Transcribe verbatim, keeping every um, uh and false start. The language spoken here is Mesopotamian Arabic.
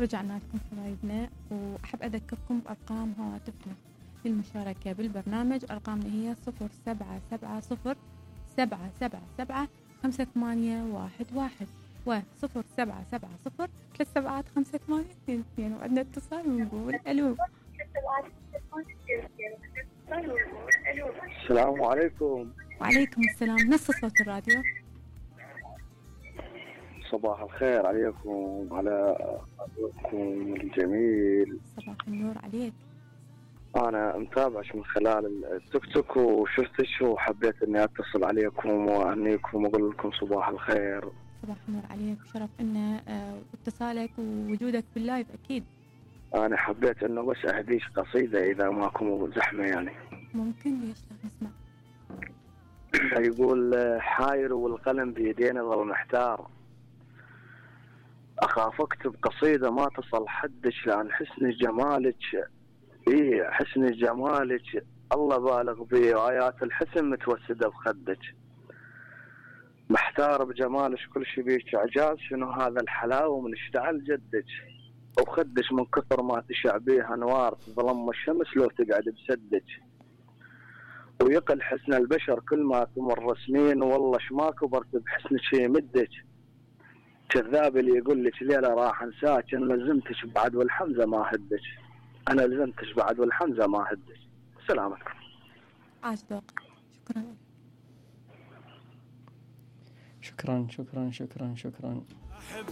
رجعنا لكم حبايبنا، وأحب أذكركم بأرقام هواتفنا للمشاركة بالبرنامج. أرقامنا هي صفر سبعة سبعة صفر سبعة سبعة سبعة خمسة ثمانية واحد واحد وصفر سبعة سبعة صفر ثلاث سبعات خمسة ثمانية اثنين اثنين. وعندنا اتصال ونقول ألو. السلام عليكم. وعليكم السلام. نص صوت الراديو. صباح الخير عليكم وعلى أبوكم الجميل. صباح النور عليك. أنا متابعش من خلال التيك توك وشفتش وحبيت إني أتصل عليكم وأهنيكم وأقول لكم صباح الخير. صباح النور عليك، شرف إن اتصالك ووجودك باللايف أكيد. أنا حبيت إنه بس أهديش قصيدة إذا ماكم زحمة يعني. ممكن، ليش لا نسمع. يقول حاير والقلم بيدينا ظل محتار، أخاف أكتب قصيدة ما تصل حدش لأن حسن جمالك، إيه حسن جمالك الله بالغ بيه وآيات الحسن متوسدة بخدك، محتار بجمالك كل شي بيك إعجاز، شنو هذا الحلاوة من اشتعل جدك، وخدش من كثر ما تشع بيه أنوار تظلم الشمس لو تقعد بسدك، ويقل حسن البشر كل ما تمر سنين والله شما كبرت بحسنك شي مدك، كذاب اللي يقول لك ليلة راح انساك انا لزمتش بعد والحمزة ما هدك، انا لزمتش بعد والحمزة ما هدك. سلامك. عاش ذوقك. شكرا. شكرا شكرا شكرا شكرا. أحب